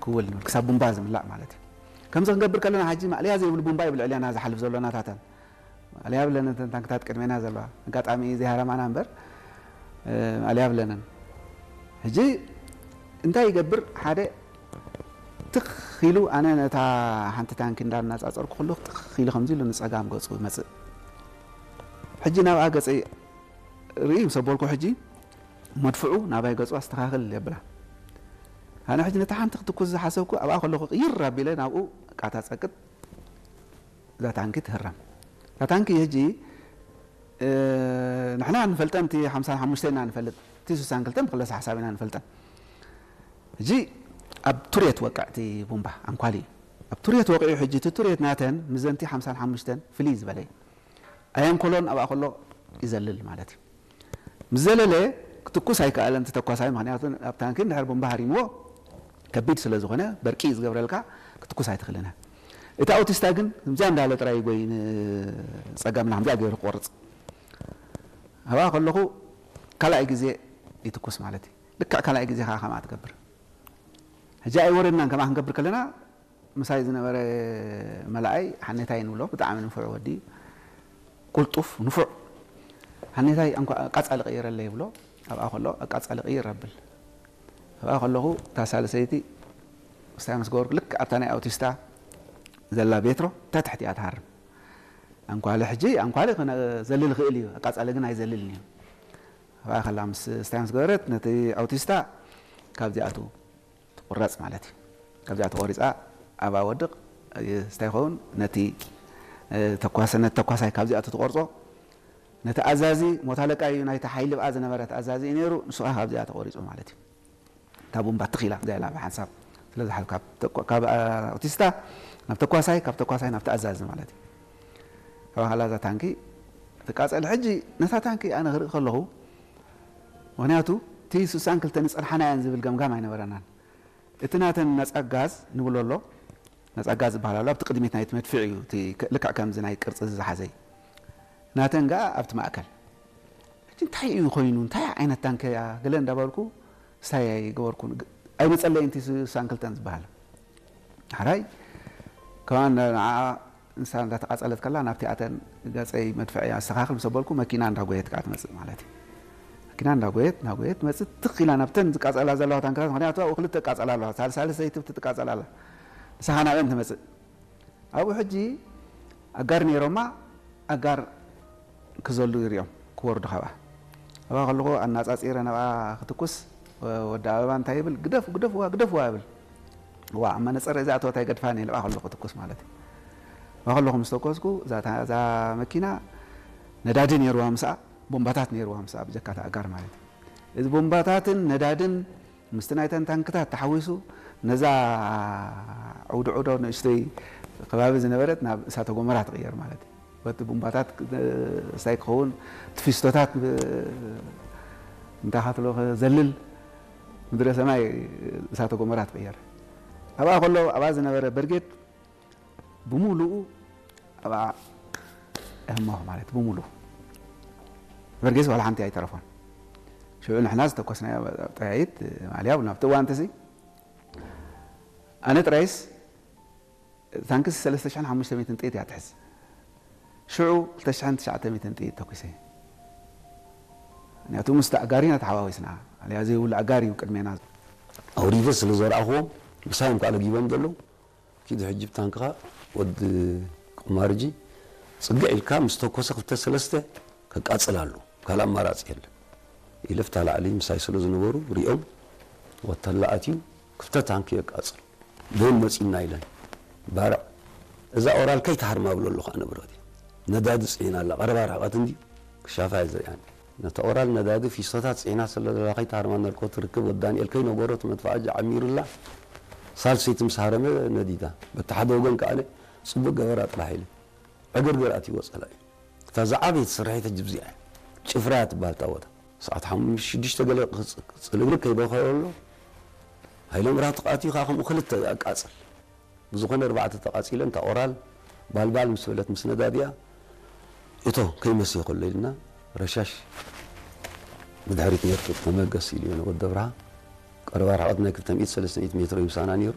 ክውል ንብል፣ ክሳብ ቡምባ ዝምላእ ማለት እዩ። ከምዚ ክንገብር ከለና፣ ሕጂ ማእለያ ዘይብሉ ቡምባ እዩ ልዕሌና ዝሓልፍ ዘሎ ናታተን። ማእለያ ብለን እተን ታንክታት ቅድሜና ዘለዋ፣ ኣጋጣሚ ዘይሃረማና እምበር፣ እ፣ ማእለያ ብለንን። ሕጂ እንታይ ይገብር? ሓደ ትኽ ኢሉ፣ ኣነ ነታ ሓንቲ ታንኪ እንዳነጻጸርኩ ከለኹ፣ ትኽ ኢሉ ከምዚ ኢሉ ንጸጋም ገጹ ይመጽእ። ሕጂ ናብኣ ገጸይ ርኢ ምስ ኣበልኩ፣ ሕጂ መድፍዑ ናባይ ገጹ ኣስተኻኽል የብላ። ኣነ ሕጂ ነታ ሓንቲ ክትኩስ ዝሓሰብኩ፣ ኣብኣ ከለኹ ቅይር ኣቢለ ናብኡ ቃታ ጸቅጥ፣ እዛ ታንኪ ትህረም። እዛ ታንኪ ሕጂ፣ እ፣ ንሕና ንፈልጠን፣ እቲ ሓምሳን ሓሙሽተን ኢና ንፈልጥ፣ እቲ ስሳን ክልተን ብክለሳ ሓሳብ ኢና ንፈልጠን። ሕጂ ኣብ ቱሬት ወቅዕ እቲ ቡምባ፣ ኣንኳሊ እዩ። ኣብ ቱሬት ወቂዑ፣ ሕጂ እቲ ቱሬት ናተን ምስዘንቲ ሓምሳን ሓሙሽተን ፍልይ ዝበለ እዩ። ኣየንኮሎን ኣብኣ ከሎ ይዘልል ማለት እዩ። ምስ ዘለለ ክትኩስ ኣይከኣለን እቲ ተኳሳይ፣ ምኽንያቱ ኣብ ታንኪ እንድሕር ቡምባ ሃሪምዎ ከቢድ ስለ ዝኾነ፣ በርቂ እዩ ዝገብረልካ፣ ክትኩስ ኣይትኽእልን እያ። እቲ ኣውቲስታ ግን ከምዚኣ እንዳለ ጥራይ ይጎይ፣ ንጸጋምና ከምዚኣ ገይሩ ክቆርጽ። ኣብኣ ከለኹ ካልኣይ ግዜ ይትኩስ ማለት እዩ። ልክዕ ካልኣይ ግዜ ከኣ ከምኣ ትገብር። ሕጂ ኣይወረድናን፣ ከምኣ ክንገብር ከለና፣ ምሳይ ዝነበረ መላኣይ ሓኔታይ ንብሎ፣ ብጣዕሚ ንፉዕ ወዲ፣ ቁልጡፍ፣ ንፉዕ። ሓኔታይ፣ ኣንኳ-፣ ኣቃጻሊ ቀይረለይ ይብሎ። ኣብኣ ከሎ ኣቃጻሊ ቀይር ኣብል። ኣብኣ ከለኹ፣ እታ ሳልሰይቲ ስታይ ምስ ገበርኩ፣ ልክዕ ኣብታ ናይ ኣውቲስታ ዘላ ቤትሮ፣ እታ ትሕቲ እያ ትሃርም። ኣንኳሊ ሕጂ፣ ኣንኳሊ ክነ-፣ ዘልል ይኽእል እዩ፣ ኣቃጻሊ ግን ኣይዘልልን እዩ። ኣብኣ ከላ ምስ ስታይ ምስ ገበረት፣ ነቲ ኣውቲስታ ካብዚኣቱ ትቁረጽ ማለት እዩ። ካብዚኣ ተቆሪጻ ኣብኣ ወድቕ፣ ስታይ ይኸውን፣ ነቲ፣ እ፣ ተኳሰ-፣ ነቲ ተኳሳይ ካብዚኣቱ ትቆርጾ። ነቲ ኣዛዚ፣ ሞት ኣለቃ እዩ፣ ናይቲ ሓይሊ ብኣ ዝነበረ እቲ ኣዛዚ እዩ ነይሩ፣ ንሱ ከኣ ካብዚኣ ተቆሪጹ ማለት እዩ። እታ ቡምባ ትኽ ኢላ፣ ከምዚኣ ኢላ ብሓንሳብ ስለ ዝሓልፍ፣ ካብ ተኳ-፣ ካብ፣ እ፣ ኣውቲስታ ናብ ተኳሳይ፣ ካብ ተኳሳይ ናብ ተኣዛዚ ማለት እዩ። ኣብኣ ከላ እዛ ታንኪ ትቃጸል። ሕጂ ነታ ታንኪ ኣነ ክርኢ ከለኹ፣ ምኽንያቱ እቲ ስሳን ክልተን ይጸንሓና እየን ዝብል ገምጋም ኣይነበረናን። እቲ ናተን ነጻ ጋዝ ንብሎ ኣሎ፣ ነጻ ጋዝ ዝበሃል ኣሎ፣ ኣብቲ ቅድሚት ናይቲ መድፍዕ እዩ፣ እቲ ከ-፣ ልክዕ ከምዚ ናይ ቅርጺ ዝሓዘ እዩ። ናተን ገኣ ኣብቲ ማእከል። ሕጂ እንታይ እዩ ኮይኑ? እንታይ ዓይነት ታንኪ እያ? ገለ እንዳበልኩ ስታይ ኣይገበርኩን። ግ-፣ ኣይመጸለይን እቲ ስሳን ክልተን ዝበሃል። ሓራይ ከማን ንዓ ንሳ እንዳተቃጸለት ከላ ናብቲ ኣተን ገጸይ መድፍዐይ ኣስተኻኽል ምስ ኣበልኩ መኪና እንዳጎየት ከኣ ትመጽእ ማለት እዩ። መኪና እንዳጎየት፣ እንዳጎየት ትመጽእ ትኽ ኢላ ናብተን ዝቃጸላ ዘለዋ ታንክታት፣ ምኽንያቱ ኣብኡ ክልተ ይቃጸላ ኣለዋ። ሳልሳይ ሰበይቲ ትቃጸላ ኣላ። ንሳ ከኣ ናብአን ትመጽእ። ኣብኡ ሕጂ ኣጋር ነይሮማ፣ ኣጋር ክዘሉ ይሪኦም፣ ክወርዱ ካብኣ። ኣብኣ ከለኹ ኣናጻጺረ ናብኣ ክትኩስ፣ ወ-፣ ወዲ ኣበባ እንታይ ይብል? "ግደፍ-፣ ግደፍዋ፣ ግደፍዋ" ይብል። ዋ፣ ኣብ መነጸር እዚኣ እተወት ኣይገድፋን እየ፣ ንብኣ ከለኹ ክትኩስ ማለት እዩ። ንብኣ ከለኹ ምስ ተኮስኩ፣ እዛ ታ-፣ እዛ መኪና ነዳዲ ነይርዋ ምስኣ፣ ቦምባታት ነይርዋ ምስኣ፣ ብጀካ እታ ኣጋር ማለት እዩ። እዚ ቦምባታትን ነዳድን ምስቲ ናይተን ታንክታት ተሓዊሱ፣ ነዛ ዑዶ ዑዶ ንእሽተይ ከባቢ ዝነበረት ናብ እሳተ ጎመራ ትቕየር ማለት እዩ። በቲ ቡምባታት፣ እ፣ ስታይ ክኸውን፣ እቲ ፊስቶታት ብ-፣ እንታኻትሎ ክዘልል፣ ምድረ ሰማይ እሳተ ጎመራ ትቕየር። ኣብኣ ከሎ፣ ኣብኣ ዝነበረ በርጌድ ብምሉኡ ኣብኣ እህመኹ ማለት፣ ብምሉኡ። በርጌስ ዋላ ሓንቲ ኣይተረፎን። ሽዑ ንሕና ዝተኮስናዮ ጠያይት፣ ማልያ፣ ናብቲ እዋን ተሲ፣ ኣነ ጥራይስ፣ ታንክስ ሰለስተ ሽሕን ሓሙሽተ ሚእትን ጥይት እያ ትሕዝ። ሽዑ ክልተ ሽሕን ትሽዓተ ሚእትን ጥይት ተኩሰ። ምኽንያቱ ምስቲ ኣጋር ኢና ተሓዋዊስና። ኣልያ ዘይብሉ ኣጋር እዩ ቅድሜና። ኣውሪደ ስለ ዘርኣኽዎም፣ ምሳዮም ከኣ ለጊቦም ዘለዉ፣ ኪድ ሕጂ ብታንክኻ ወዲ ቁማርጂ ጽግዕ ኢልካ ምስ ተኮሰ ክልተ ሰለስተ ከቃጽል ኣሎ። ካልእ ኣማራጺ የለን። ኢለ ፍታ ላዕሊ ምሳይ ስለ ዝነበሩ ሪኦም፣ ወተላ ኣትዩ ክልተ ታንኪ የቃጽል። ደን መጺና ኢለን። ባርዕ፣ እዛ ኦራል ከይትሃርማ ብሎ ኣለኹ ኣነ ብረኽቲ። ነዳዲ ጽዒና ኣላ፣ ቀረባ ርሕቐት እንድዩ፣ ክሻፋ እየ ዝሪኣን። ነታ ኦራል ነዳዲ ፊስቶታት ጽዒና ስለ ዘላ ከይትሃርማ እናልኮ ትርክብ፣ ወዲ ዳንኤል ከይነገሮ እቲ መድፍዓ ጃዓሚሩላ፣ ሳልሰይቲ ምስ ሃረመ ነዲዳ። በቲ ሓደ ወገን ከኣ ጽቡቕ ገበራ ጥራሕ ኢለ። ዕግርግር ኣትይዎ ጸላኢ። እታ ዝዓበየት ስርሒት ሕጂ ብዚኣ እያ። ጭፍራ እያ ትበሃል እታ ቦታ። ሰዓት ሓሙሽተ ሽዱሽተ ገለ ክጽ-፣ ጽልግልግ ከይበኸ ከሎ፣ ሃይለ ምብራህቱ ከኣ ኣትዩ ከኣ ከምኡ ክልተ ኣቃጽል። ብዝኾነ ኣርባዕተ ተቓጺለን፣ እታ ኦራል ባልባል ምስ በለት ምስ ነዳዲኣ፣ እቶ ከይመሰየ ከሎ ኢልና ረሻሽ ብድሕሪት ነርቱ ተመገስ ኢሉ እዩ ወዲ ኣብርሃ። ቀረባ ርሕቐት ናይ ክልተ ሚእቲ ሰለስተ ሚእቲ ሜትሮ ይምሳና ነይሩ።